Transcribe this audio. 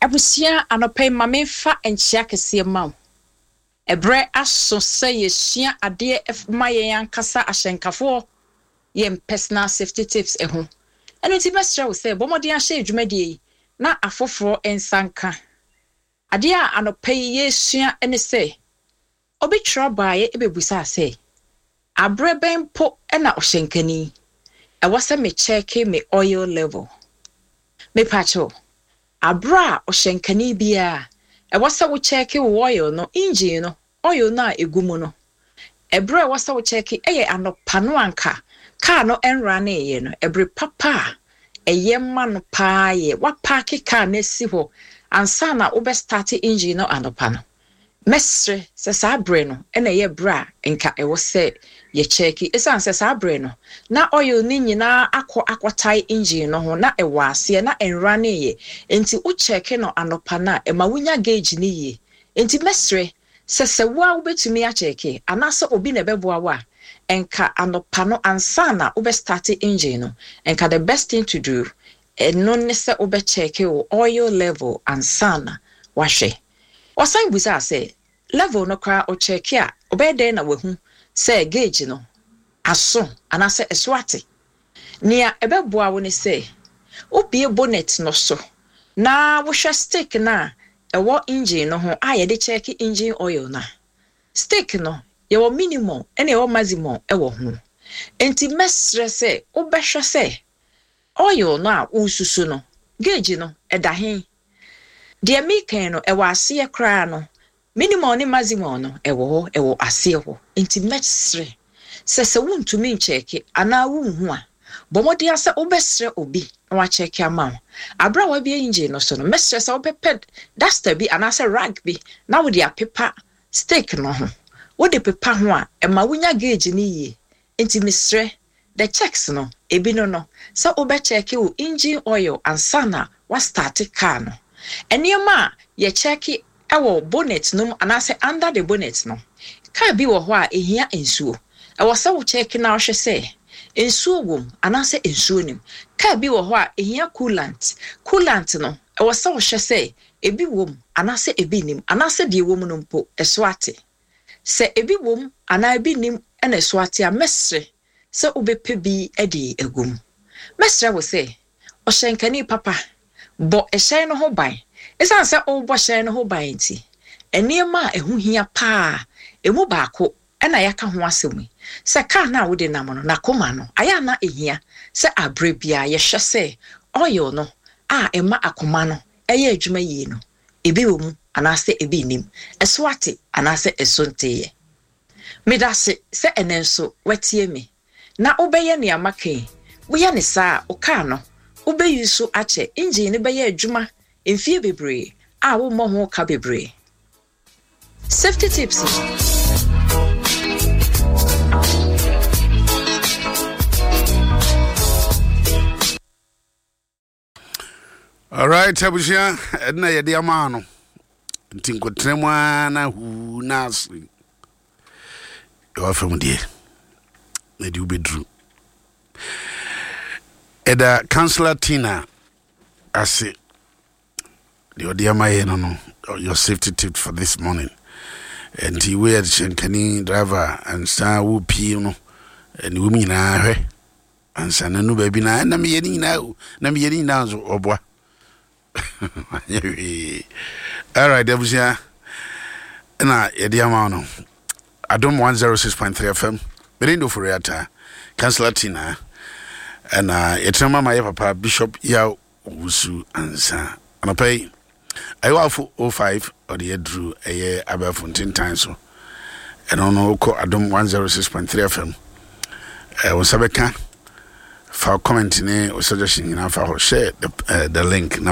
Abusua, anɔpa yi ma memfa nkyea kɛseɛ mma wo. Ɛberɛ aso sɛ yɛsua adeɛ ma yɛn ankasa ahyɛnkafoɔ, yɛn personal safety tips ho. Ɛno nti mɛsrɛ wo sɛ bɔ mmɔden ahyɛ dwumadie yi na afoforɔ nsa nka. Adeɛ a anɔpa yi yɛresua ne sɛ, obi twerɛ baeɛ bɛbisaa sɛ, Aberɛ bɛn mpo na ɔhyɛnkani ɛwɔ sɛ me kyɛɛke me oil level? Mepakyɛw, aberɛ a ɔhyɛnkani biara ɛwɔ sɛ wo kyɛɛke wo oil no, engine no, oil no a ɛgu mu no, ɛberɛ a ɛwɔ sɛ wo kyɛɛke ɛyɛ anɔpa no anka kaa no ɛnraneeɛ no, ɛbere papa a ɛyɛ ma no paa yɛ woapaake kaa no asi hɔ ansa na wobɛ starte engine no anɔpa no. Mɛsrɛ sɛ saa berɛ no na ɛyɛ berɛ a nka ɛwɔ sɛ yɛkyɛɛke ɛsiane sɛ saa berɛ no na oil no nyinaa akɔ akɔtae engine no ho na ɛwɔ aseɛ na ɛnraneeɛ nti wo kyɛɛke no anɔpa no a ɛma wonya gauge no yie nti mɛsrɛ sɛ sɛ wo ara wobɛtumi akyɛɛke anaasɛ obi na ɛbɛboa wo a nka anɔpa no ansa na wobɛ starte engine no nka the best thing to do ɛno ne sɛ wobɛkyɛɛke wo oil level ansa na wahwɛ. Ɔsan bisaa sɛ, Level no koraa ɔkyɛɛke a, ɔbɛyɛ dɛn na wahu sɛ gauge no aso anaasɛ ɛso ate? Nea ɛbɛboa wo ne sɛ wobue bonnet no so na wohwɛ stick no a ɛwɔ engine no ho a yɛde kyɛɛke engine oil no a. Stick no, yɛwɔ minimum ɛna yɛwɔ maximum wɔ ho. Enti mɛsrɛ sɛ wobɛhwɛ sɛ oil no a woresusu no, gauge no, ɛda he? Deɛ mereka yi no, ɛwɔ aseɛ koraa no, minimum ne maximum no, ɛwɔ hɔ, ɛwɔ aseɛ hɔ. Nti mɛsrɛ sɛ, sɛ wontumi nkyɛɛke anaa wonhu a, bɔ mmɔden ara sɛ wobɛsrɛ obi na wakyɛɛke ama wo. Aberɛ a woabue engine no so no, mɛsrɛ sɛ wobɛpɛ duster bi anaasɛ rag bi na wode apepa stick no ho. Wode pepa ho a, ɛma wonya gauge no yie. Nti mesrɛ, The checks no, ebi no no, sɛ wobɛ checke wo engine oil ansa na wa starte car no. Nneɛma a yɛ checke wɔ bonnet no mu anaasɛ under the bonnet no, car bi wɔ hɔ a ehia nsuo. Ɛwɔ sɛ wo checke na wohwɛ sɛ nsuo wɔ mu anaasɛ nsuo nnim. Car bi wɔ hɔ a ehia coolant. Coolant no, ɛwɔ sɛ wohwɛ sɛ ebi wɔ mu anaasɛ ebi nnim anaasɛ deɛ ɛwɔ mu no mpo ɛso ate. Sɛ ebi wom anaa ebi nnim na ɛso ate a, mɛsrɛ sɛ wobɛpɛ bi de agu mu. Mɛsrɛ wo sɛ, ɔhyɛnkani papa, bɔ hyɛn no ho ban. Esiane sɛ worebɔ hyɛn no ho ban nti, nneɛma a ɛho hia paa a emu baako na yɛaka ho asɛm yi, sɛ kar no a wode nam no, n'akoma no, ayɛ a na ehia sɛ bere biara yɛhwɛ sɛ oil no a ɛma akoma no yɛ adwuma yie no, ebi wɔ mu anaasɛ ebi nnim, ɛso ate anaasɛ ɛso nteeɛ. Medase sɛ ɛnnɛ nso woatie me na wobɛyɛ nea maka yi. Woyɛ no saa a, wo kaa no, wobɛyi so akyɛ, engine no bɛyɛ adwuma mfie bebree a wommɔ ho ka bebree. Safety tips. Alright, abusua, ɛna yɛde ama no. Nti nkotena mu ara na huu na ase. Ɛwɔ fam deɛ, na ɛde wobɛduru. Ɛda Councillor Tina ase. Deɛ ɔde ama yɛ no no, your safety tip for this morning. Nti woyɛ hyɛnkani driver ansa wopie no, ɛne wɔm nyinaa hwɛ. Ansa na nu baabi na na meyɛ ne nyinaa o na meyɛ ne nyinaa nso ɔboa anyɛ hwee. Alright abusua na yɛde ama no Adom 106.3 FM mede ndo fori ata Councillor Tina ɛna yɛtena ma ma yɛ papa Bishop Yaw Owusu ansa anɔpa yi Ayewafo 05 ɔde aduru ɛyɛ abɛɛfo ntentan so ɛno no wokɔ Adom 106.3 FM wo nsa bɛka fa comment ne wo suggestion nyinaa fa hɔ share the, uh, the link na.